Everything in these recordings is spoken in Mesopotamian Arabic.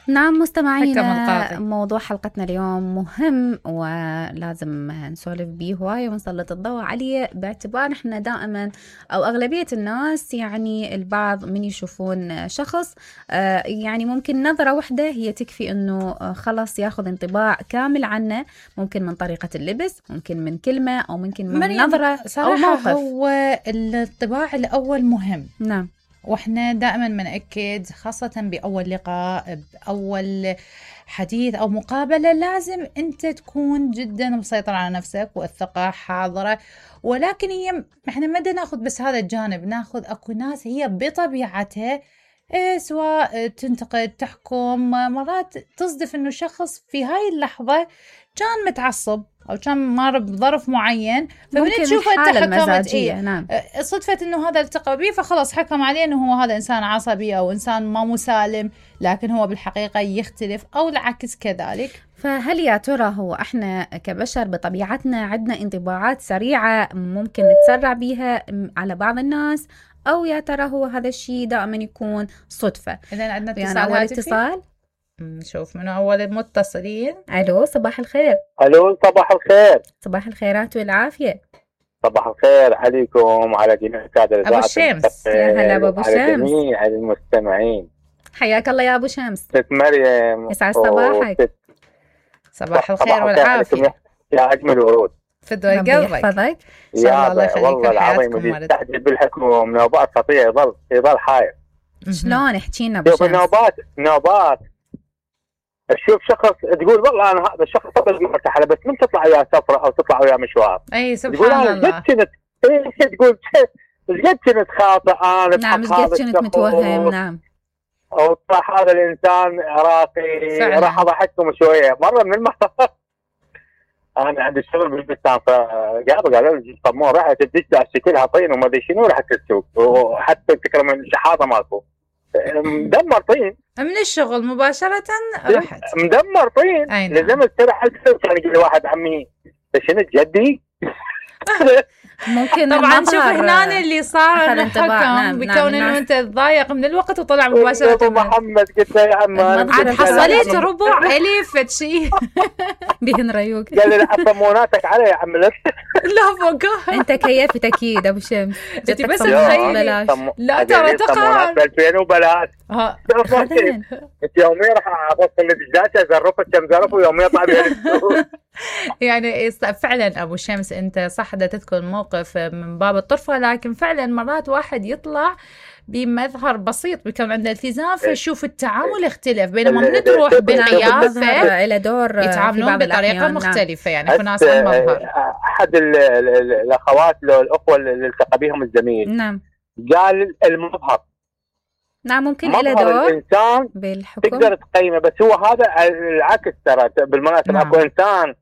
نعم مستمعينا، موضوع حلقتنا اليوم مهم ولازم نسولف بيه هواية ونسلط الضوء عليه، باعتبار احنا دائما او اغلبية الناس يعني البعض من يشوفون شخص يعني ممكن نظرة واحدة هي تكفي انه خلص ياخذ انطباع كامل عنه، ممكن من طريقة اللبس، ممكن من كلمة، او ممكن من نظرة او موقف. هو الانطباع الاول مهم. نعم، واحنا دائما بنأكد خاصة بأول لقاء، بأول حديث أو مقابلة، لازم أنت تكون جدا مسيطر على نفسك والثقة حاضرة. ولكن احنا ما بدنا ناخذ بس هذا الجانب، ناخذ أكو ناس هي بطبيعتها سواء تنتقد تحكم، مرات تصدف انه شخص في هاي اللحظة كان متعصب او كان مر بظرف معين، فبنشوف حكمت نعم. صدفة انه هذا التقى به فخلص حكم عليه انه هو هذا انسان عصبي او انسان ما مسالم، لكن هو بالحقيقة يختلف او العكس كذلك. فهل يا ترى هو احنا كبشر بطبيعتنا عندنا انطباعات سريعة ممكن نتسرع بيها على بعض الناس، او يا ترى هو هذا الشيء دائما يكون صدفة؟ اذا عندنا يعني اول اتصال، نشوف من اول المتصلين. الو صباح الخير. الو صباح الخير. صباح الخيرات والعافية. صباح الخير عليكم وعلى جميع السادة ابو الشمس. يا هلا ابو على شمس، جميع المستمعين. حياك الله يا ابو شمس. ست مريم، يسعد صباحك. صباح الخير والعافية يا اجمل ورود. فدوى قلبك يحفظك ان شاء الله يخليك. والله العظيم يستعجل بالحكم نوبات خطية، يظل حاير. شلون احكي لنا ابو شمس؟ نوبات تشوف شخص تقول والله انا هذا الشخص طبعا مرتاح، بس من تطلع وياه سفره او تطلع وياه مشوار، اي سبحان الله، تقول قد كنت خاطئ انا. نعم، قد كنت متوهم. نعم، او طلع هذا الانسان راقي. راح اضحككم شويه. مره من المرات انا عندي شغل بالبستان، قالوا لي طمون راح تدش شكلها طين وما ادري شنو، رحت السوق وحتى تكرم الشحاطه مالكم مدمر طين من الشغل مباشرة. رحت مدمر طين. لازم استرح السوق. كان يقول لي واحد عمي شنو جدي ممكن طبعا شوف هنا اللي صار الحكم بكون انه انت تضايق من الوقت وطلع مباشرة. ابو محمد قلت له يا عم عاد حصلت ربع الف شيء بهن ريوق. قال لي حطموناتك علي يا عم. لا فوق انت كيفت اكيد ابو شمس. انت بس تخيلي. لا ترى تقهر 2000 وبلاش. انت يوميا راح اخذ الدجاجه زرفت كم زرف ويوميا طالع يعني فعلا ابو شمس انت صح دا تذكر موقف من باب الطرفه، لكن فعلا مرات واحد يطلع بمظهر بسيط بيكون عنده التزام فيشوف التعامل اختلف، بينما من تروح بالقيافه الى دور يتعاملون بطريقه مختلفه. يعني في ناس المظهر. احد الاخوات الاخوه اللي التقى بهم الزميل نعم قال المظهر. نعم ممكن إلى دور الإنسان بالحكم تقدر تقيمه، بس هو هذا العكس ترى بالمناسبة. أكو إنسان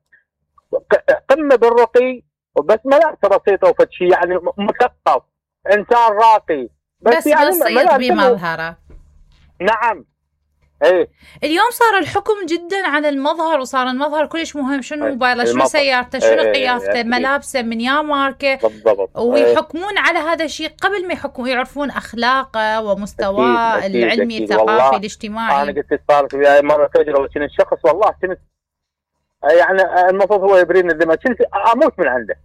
قمة بالرقي وبس ملابسه بسيطة وفتشي، يعني مثقف، إنسان راقي بس يعني بسيط بمظهره. نعم. ايه اليوم صار الحكم جدا على المظهر، وصار المظهر كلش مهم. شنو موبايله، شنو سيارته، شنو قيافته، ملابسه من يا ماركه بالضبط. ويحكمون على هذا الشيء قبل ما يحكمون، يعرفون اخلاقه ومستواه العلمي الثقافي الاجتماعي. انا قلت صارت وياي مره تجربه، كنت الشخص والله كنت يعني المفروض هو يبريني الذمه، كنت اموت من عنده.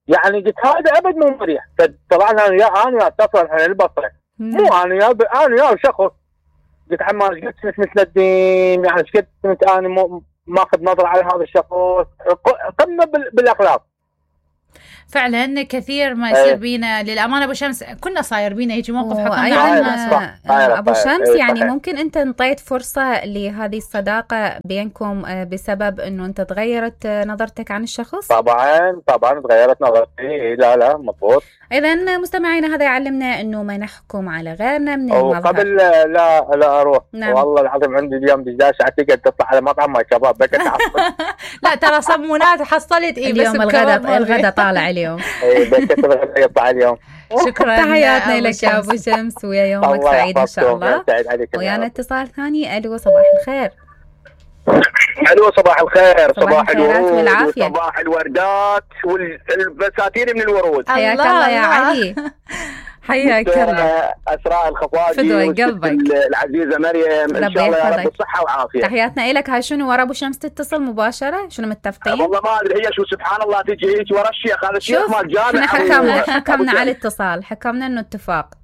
يعني قلت هذا ابد مو مريح. فطلعنا انا اتصل احنا البصره، مو انا يا شخص. قلت عمار قلت مثل الدين، يعني قلت كنت انا ماخذ نظره على هذا الشخص. قمه بالاخلاق. فعلا كثير ما يصير بينا للامانه ابو شمس، كنا صاير بينا يجي موقف حكمنا عنه ابو شمس. يعني ممكن انت انطيت فرصه لهذه الصداقه بينكم بسبب انه انت تغيرت نظرتك عن الشخص؟ طبعا تغيرت نظرتي. لا مضبوط. اذا مستمعينا هذا يعلمنا انه ما نحكم على غيرنا من المظهر. قبل لا اروح. نعم. والله العظيم عندي اليوم دجاج اعتقد تطلع على مطعم ما شباب بك لا ترى صمونات حصلت اليوم الغداء طالع اليوم. اي بكت الغداء يطلع اليوم. شكرا تحياتنا لك يا ابو شمس، ويا يومك سعيد ان شاء الله. ويانا اتصال ثاني. الو صباح الخير. الو صباح الخير. صباح الورود وصباح الوردات والبساتين من الورود. حياك الله يا علي. حياك الله. اسراء الخفاجي فدوى قلبك العزيزه مريم، ان شاء الله يا رب بالصحه والعافيه. تحياتنا لك. هاي شنو ورا ابو شمس تتصل مباشره؟ شنو متفقين؟ والله ما ادري هي شو سبحان الله تجي هيك ورا الشيخ، هذا الشيخ مال جامع. احنا حكمنا على الاتصال، حكمنا انه اتفاق.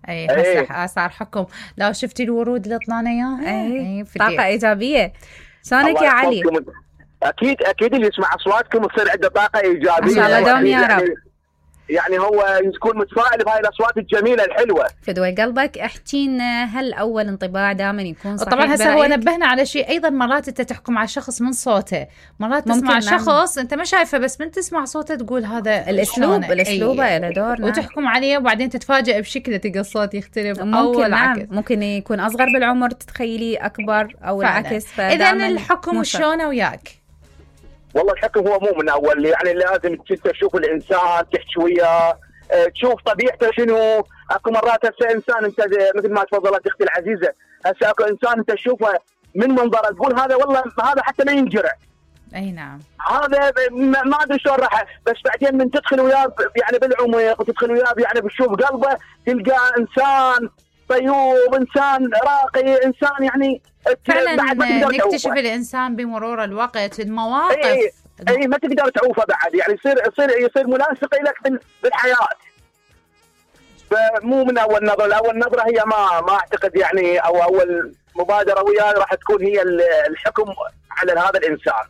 اي هسه صار حكم. لو شفتي الورود اللي طلعنا اياها، اي طاقه ايجابيه. شلونك يا علي؟ اكيد اللي يسمع اصواتكم تصير عنده طاقه ايجابيه ان شاء الله دوم يا رب. يعني هو يكون متفائل بهاي الاصوات الجميله الحلوه. فدوى قلبك. احكي لنا، هل اول انطباع دائما يكون صحيح؟ طبعا هسه هو نبهنا على شيء ايضا، مرات انت تحكم على شخص من صوته، مرات تسمع شخص انت ما شايفه بس من تسمع صوته تقول هذا الاسلوب له دور. وتحكم عليه وبعدين تتفاجئ بشكله، تلقى الصوت يختلف او العكس. ممكن يكون اصغر بالعمر تتخيليه اكبر او العكس. اذا الحكم شلونه وياك؟ والله الحكم هو مو من اول، يعني لازم انت تشوف الانسان، تحكي وياه، تشوف طبيعته شنو. اكو مرات هسه انسان انت مثل ما تفضلت اختي العزيزه، هسه اكو انسان انت تشوفه من منظره تقول هذا والله هذا حتى ما ينجرع. اي نعم. هذا ما ادري شلون راح، بس بعدين من تدخل وياه يعني بالعمق وتدخل وياه يعني بتشوف قلبه، تلقى انسان طيوب، انسان راقي، انسان يعني فعلا نكتشف الانسان بمرور الوقت المواقف. اي ما تقدر تعوفه بعد، يعني يصير ملاصق لك بالحياه. فمو من اول نظره، اول نظره هي ما اعتقد يعني، او اول مبادره وياه راح تكون هي الحكم على هذا الانسان.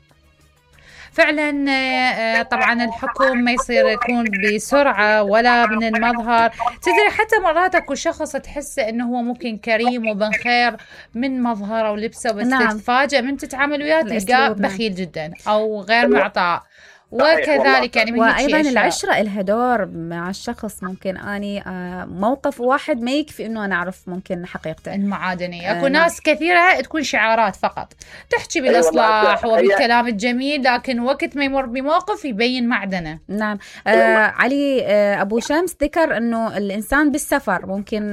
فعلا طبعا الحكم ما يصير يكون بسرعة ولا من المظهر. تدري حتى مرات اكو شخص تحس انه هو ممكن كريم وبن خير من مظهره ولبسه، بس تتفاجئ من تتعامل وياه تلقاه بخيل جدا او غير معطاء. وكذلك يعني وايضا العشره لها دور مع الشخص. ممكن اني موقف واحد ما يكفي انه انا اعرف ممكن حقيقته المعادنيه. اكو ناس كثيره تكون شعارات فقط، تحكي بالاصلاح وبالكلام الجميل، لكن وقت ما يمر بموقف يبين معدنه. نعم. علي ابو شمس ذكر انه الانسان بالسفر ممكن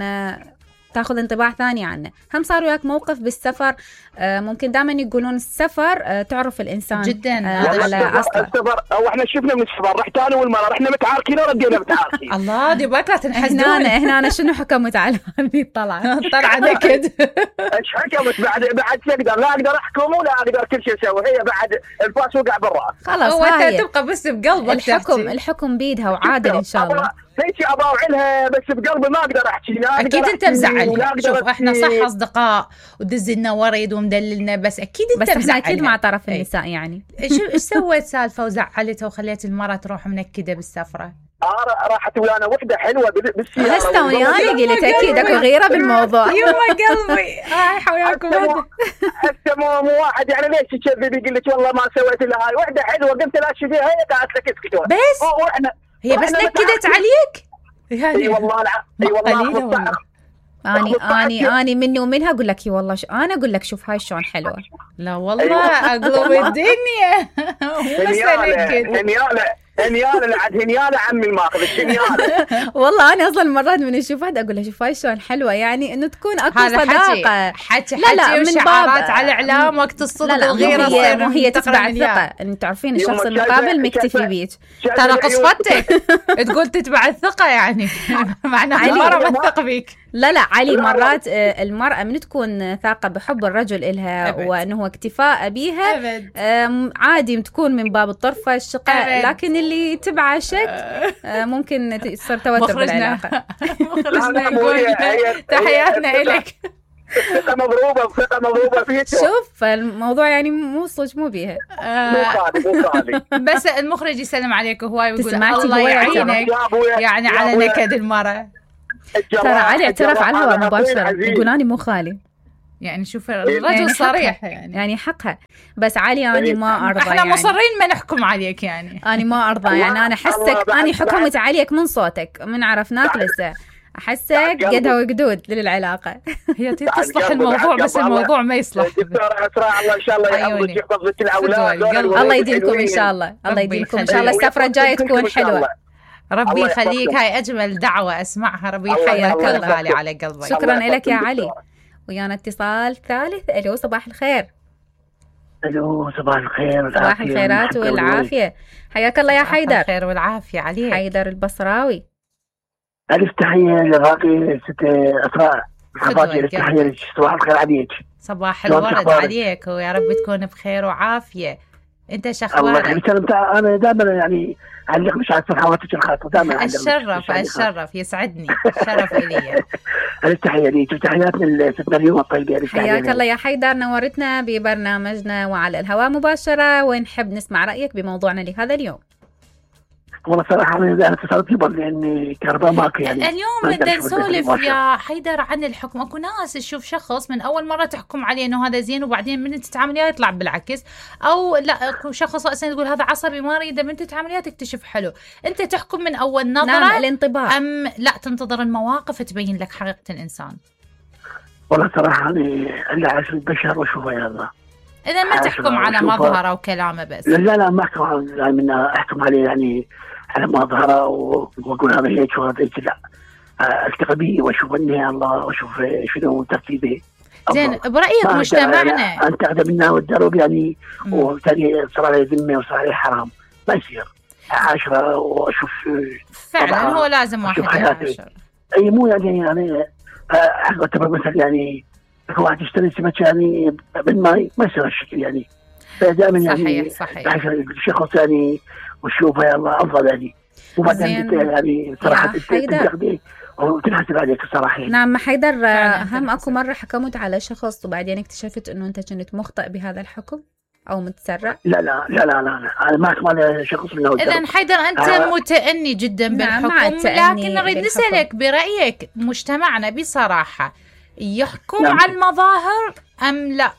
تاخذ انطباع ثاني عنه. هم صار وياك موقف بالسفر؟ ممكن دائما يقولون السفر تعرف الانسان جدا على اصله. السفر او احنا شفنا من السفر، رحت انا والمراه رحنا متعاركين وردينا متعاركين. الله دي بكره تنحسدون. هنا انا شنو حكمت على هذه الطلعه؟ نكد. ايش حكمت بعد تقدر؟ لا اقدر احكم ولا اقدر كل شيء اسوي، هي بعد الفاس وقع بالراس. خلاص وانت تبقى بس بقلبك. الحكم بيدها وعادل ان شاء الله. هيك اضاوع لها بس بقلبي ما اقدر احكي. اكيد انت مزعل. شوف احنا صح اصدقاء ودز لنا ورد ومدللنا، بس اكيد انت مزعل. اكيد مع طرف النساء يعني. ايش سويت سالفه وزعلتها وخليت المراه تروح منكده بالسفره؟ راحت ويانا وحده حلوه بالسياره. هسه ويانا قلت اكيد اكو غيره بالموضوع. يما قلبي وياكم. هسه مو واحد يعني ليش تكذب يقول لك والله ما سويت الا هاي. وحده حلوه قلت لها شو فيها، هي قالت لك اسكت بس هي بس نكدت عليك يعني. اي والله اي والله. اني مني ومنها اقول لك والله انا اقول لك شوف هاي شلون حلوه. لا والله اقلب الدنيا. هنياله لعد هنياله عمي الماخذ الشنياله. والله انا اصلا مرات من اشوف واحده اقول لها شوف هاي شلون حلوه، يعني انه تكون اكو صداقه. حكي وشعارات على الاعلام وقت الصدق الغيره. هي تتبع الثقه، انتم تعرفين الشخص المقابل مكتفي بيك. ترى قصفتك تقول تتبع الثقه يعني معناها المرأة ما تثق بيك. لا علي مرات المرأة من تكون ثاقة بحب الرجل إلها وأنه هو اكتفاء بيها عادي تكون من باب الطرفة الشقة، لكن اللي تبع شك ممكن تصير توتر بالعلاقة. مخرجنا يقول تحياتنا إلك. ثقة مضروبة فيك. شوف الموضوع يعني مو صج مو بيها. مو خالي. بس المخرج يسلم عليك هواي ويقول الله يعينك يعني على نكد المرأة. ترى علي اعترف على الهواء مباشرة يقول أنا مو خالي. يعني شوف الرجل صريح يعني حقها. بس علي أنا ما أرضى. احنا مصرين ما نحكم عليك يعني. أنا ما أرضى يعني. أنا أحسك أنا حكمت عليك من صوتك من عرفناك لسه. أحسك قدها وقدود للعلاقة. هي تصلح الموضوع بس الموضوع ما يصلح. دكتورة أسراء الله إن شاء الله يحفظك يحفظ لك الأولاد. الله يديمكم إن شاء الله. الله يديمكم إن شاء الله. السفرة الجاية تكون حلوة. ربي يخليك. هاي أجمل دعوة أسمعها. ربي يحييك غالي على قلبك. شكرا لك يا علي. ويانا اتصال ثالث. ألو صباح الخير. ألو صباح الخير. صباح الخيرات والعافية. حياك الله يا حيدر. الخير والعافية عليك. حيدر البصراوي. ألف تحية لراقي ست أسراء. تحية لك. صباح الخير عليك. صباح الورد عليك، ويا رب تكون بخير وعافية. أنت شخبارك؟ الله يخليك. أنا دائما يعني أعلق مش على صفحاتك الخاصة دائما. الشرف يسعدني، شرف إلي. التحية ليك وتحياتنا لست مريم الطيبة. حياك الله يا حيدر، نورتنا ببرنامجنا وعلى الهواء مباشرة، ونحب نسمع رأيك بموضوعنا لهذا اليوم. والله صراحة أنا اتصلت قبل لأن كهرباء ماكو يعني. اليوم بدنا نسولف يا حيدر عن الحكم. أكو ناس تشوف شخص من أول مرة تحكم عليه إنه هذا زين، وبعدين من تتعامل وياه يطلع بالعكس، أو لا أكو شخص أصلا تقول هذا عصبي ما أريده، من تتعامل وياه تكتشف حلو. أنت تحكم من أول نظرة؟ نعم، الانطباع. أم لا تنتظر المواقف تبين لك حقيقة الإنسان؟ والله صراحة أنا اللي عايش البشر وأشوفه يا الله. إذا ما تحكم على مظهره وكلامه بس. لا ما أحكم عليه يعني على مظهره واقول هذا هيك وهذا هيك، لا التقي به واشوف اني الله واشوف شنو ترتيبه. زين، برايك مجتمعنا انت اقدم منا والدرب يعني، وبالتالي صار عليه ذمه وصار عليه حرام، ما يصير 10 واشوف فعلا هو لازم واحد 10. اي مو يعني اعتبر مثلا يعني واحد يشتري سمك يعني بالماء ما يصير هالشكل يعني. فدائما يعني صحيح الشخص يعني وشوفه يا الله افضل يعني. وبعدين يعني صراحه تنتقدي وتنحسب عليك صراحه. نعم حيدر، هم اكو مره حكمت على شخص وبعدين اكتشفت انه انت كنت مخطئ بهذا الحكم او متسرع؟ لا انا ما احكم على شخص من اذا حيدر انت متأني جدا بالحكم، لكن نريد نسألك برايك مجتمعنا بصراحه يحكم على المظاهر ام لا؟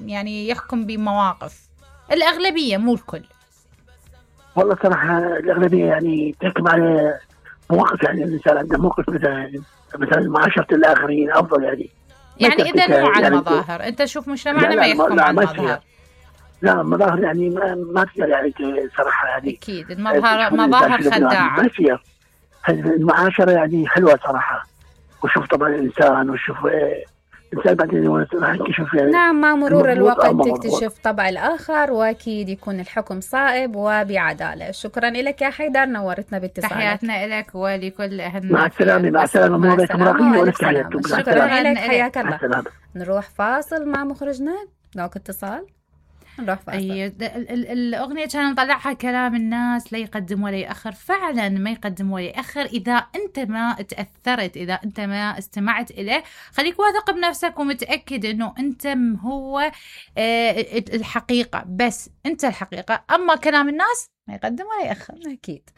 يعني يحكم بمواقف. الاغلبيه مو الكل. والله صراحة الأغلبية يعني تحكم على مواقف، يعني الإنسان عنده موقف مثلا معاشرة الآخرين أفضل يعني إذا مو على المظاهر. أنت شوف مجتمعنا ما يحكم على المظاهر. لا المظاهر يعني ما تقدر يعني صراحة يعني. أكيد المظاهر خداعة. ما يصير. المعاشرة يعني حلوة صراحة، وشوف طبعا الإنسان وشوف الإنسان بعدين راح يكتشف يعني. نعم، مع مرور الوقت تكتشف طبع الآخر، وأكيد يكون الحكم صائب وبعدالة. شكرا لك يا حيدر، نورتنا باتصالك. تحياتنا لك ولكل أهلنا. مع السلامة موريكم راقية. شكرا لك، حياك الله. نروح فاصل مع مخرجنا. لوك اتصال نروح فاصل. الأغنية كان نطلعها كلام الناس لا يقدم ولا يأخر. فعلا ما يقدم ولا يأخر. إذا أنت ما تأثرت، إذا أنت ما استمعت إليه، خليك واثق بنفسك ومتأكد أنه أنت هو الحقيقة، بس أنت الحقيقة. أما كلام الناس ما يقدم ولا يأخر. أكيد.